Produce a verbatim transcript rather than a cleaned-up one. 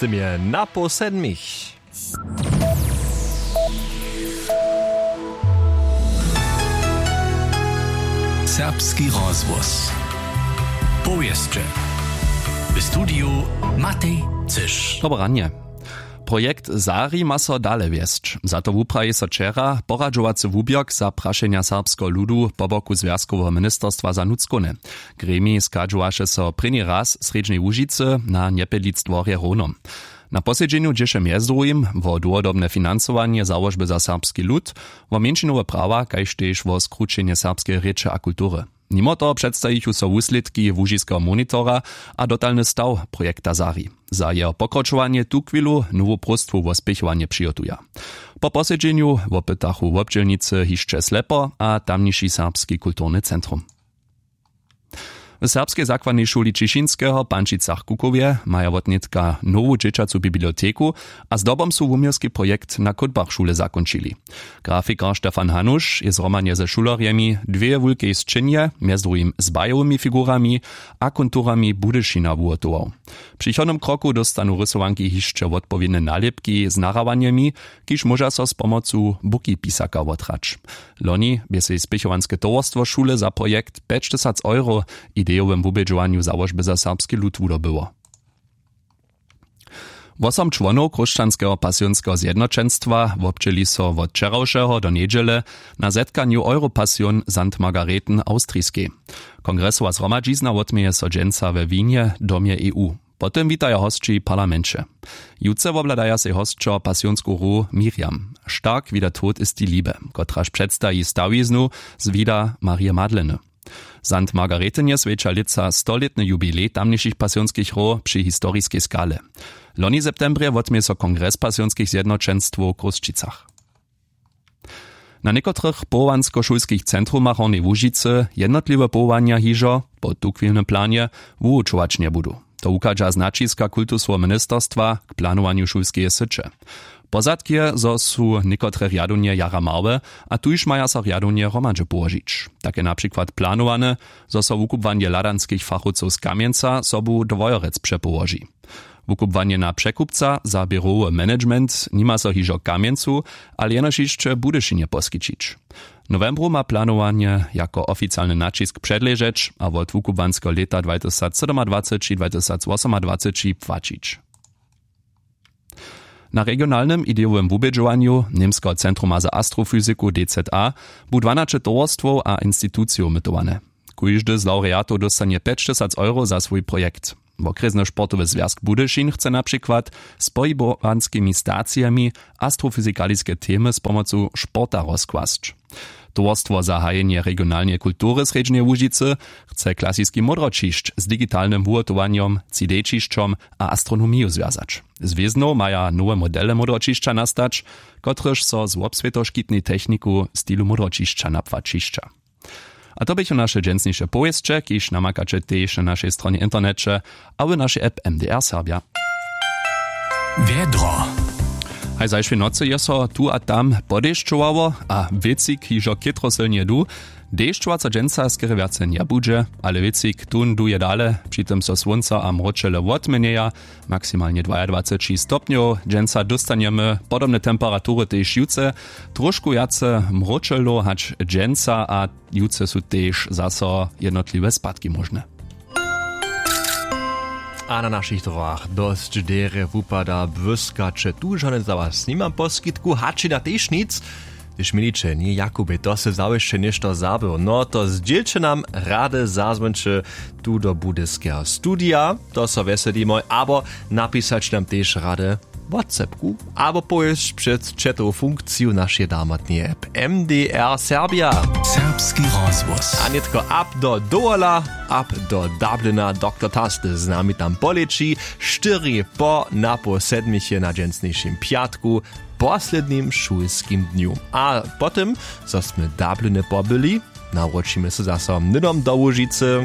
Tym je na poł sedmich. Serbski rozhłos. Powěsće. W studiju Matej Cyš. Dobre ranje. Projekt Sari ma so dale wjesć. Za to wupraji so wčera poradźowacy wuběrk za prašenja serbskeho ludu po boku zwjazkoweho ministerstwa za nutřkowne. Gremij schadźowaše so prěni raz w srjedźnej łužicy na njepjedlitstworje howno. Na posedźenju dźěše mjez druhim wo dołhodobne financowanje załožby za serbski lud, wo mjeńšinowe prawa kaž tež wo skrućenje serbskeje rěče a kultury. Nimo toho předstajichu so wuslědki łužiskeho monitora a dotalny staw projekta Sari. Za jeho pokročowanje tuchwilu nowu próstwu wo spěchowanje přihotuja. Po posedźenju wopytachu wobdźělnicy hišće slepo a tamniši serbski kulturny centrum. W serbskej zakładnej šuli Ćišinskeho w Pančicach-Kukowje maja wotnětka nowu dźěćacu biblioteku a zdobom su wuměłski projekt na kódbach šule zakónčili. Grafikar Stefan Hanuš je zhromadnje ze šulerjemi dwě wulkej sćěnje mjez druhim z bajowymi figurami a konturami Budyšina wuhotował. W přichodnym kroku dóstanu rysowanki hišće wotpowědne nalěpki z nahrawanjemi, kiž móža so z pomocu bukipisaka wothrać. Loni bě sej spěchowanske towarstwo šule za projekt pjećtysac euro w idejowym wubědźowanju załožby za serbski lud wudobyło. Wosom čłonow chróšćanskeho pasionskeho zjednoćenstwa wobdźěli so wot wčerawšeho do njedźele na zetkanju Europasion Sankt Margareten Awstriskej. Kongresowa zhromadźizna wotměje so dźensa we Wienje w domje E U. Po tym witaja hosći w parlamenće. Jutře wobhladaja sej hosćo pasionsku hru Miriam. Stark wie der Tod ist die Liebe, kotraž předstaji stawiznu z wida Marije Madleny. Sankt Margaretenje swjeća lětsa stolětny jubilej tamnišich pasionskich hrow při historiskej skale. Loni w septembrje wotměje so kongres pasionskich zjednoćenstwow w Chrósćicach. Na někotrych powołanskošulskich centrumach Hornjeje Łužicy jednotliwe powołanja hižo po tuchwilnym planje wuwučować njebudu. To wuchadźa z naćiska kultuskeho ministerstwa k planowanju šulskeje syće. Pozadk je, zo su někotre rjadownje jara małe a tuž maja so rjadownje hromadźe połožić. Tak je na přikład planowane, zo so wukubłanje hladanskich fachowcow z Kamjenca sobu do Wojerec přepołoži. Wukubłanje na překupca za běrowy management nima so hižo w Kamjencu, ale jenož hišće w Budyšinje poskićić. W nowembru ma planowanje jako oficialny naćisk předležeć a wot wukubłanskeho lěta dwatysacsydomadwaceći dwatysacwosomadwaceći płaćić. Na regionalnym idejowym wubědźowanju Němskeho centruma za astrofyziku D Z A bu dwanaće towarstwow a institucijow mytowane. Kóždy z lawreatow dóstanje pjećtysac euro za swój projekt. Wokrjesny sportowy zwjazk Budyšin chce na přikład z pohibowanskimi stacijemi astrofyzikaliske temy z pomocu sporta rozkłasć. Towarstwo za hajenje regionalneje kultury w Srjedźneje Łužicy chce klasiski módroćišć z digitalnym wuhotowanjom, C D-ćišćom a astronomiju zwjazać. Z wěznow maja nowe modele módroćišća nastać, kotrež so z wobswětoškitnej techniku w stilu módroćišća napłaćišća. A to běchu naše dźensniše powěsće, kiž namakaće tež na našej stronje w interneće a w našej app M D R Serbja. Wjedro. Haj zašłej nocy je so tu a tam podešćowało a wěcik hižo chětro sylnje du. Dešćowaco dźensa skerje wjace njebudźe, ale wěcik tón duje dale, při tym so słónco a mróčele wotměnjeja. Maksimalnje dwajadwaceći stopnjow. Dźensa dóstanjemy podobne temperatury tež jutře, trošku wjace mróčelow hač dźensa a jutře su tež zaso jednotliwe spadki móžne. A na našich drogach dosć derje wupada błyskaće, tu žane za was nimam poskitku, hačina tež nic. Hdyž měliće, ně Jakubej, to se zawěsće něšto zabył, no to zdźělće nam rady, zazwónće tu do budyskeho studija, to so wjeselimy, abo napisaće nam tež rady whatsappku abo powěsć přez chatowu funkciju našeje damotneje app M D R Serbia. Serbski rozhłos. A nětko ab do Dowola, ab do Dublina, doktor Tasty z nami tam poleći, štyri po napoł sedmich je na dźensnišim pjatku, poslednim šulskim dnju. A po tym, zo smy Dubliny pobyli, nawróćimy so zaso hnydom do Łužicy.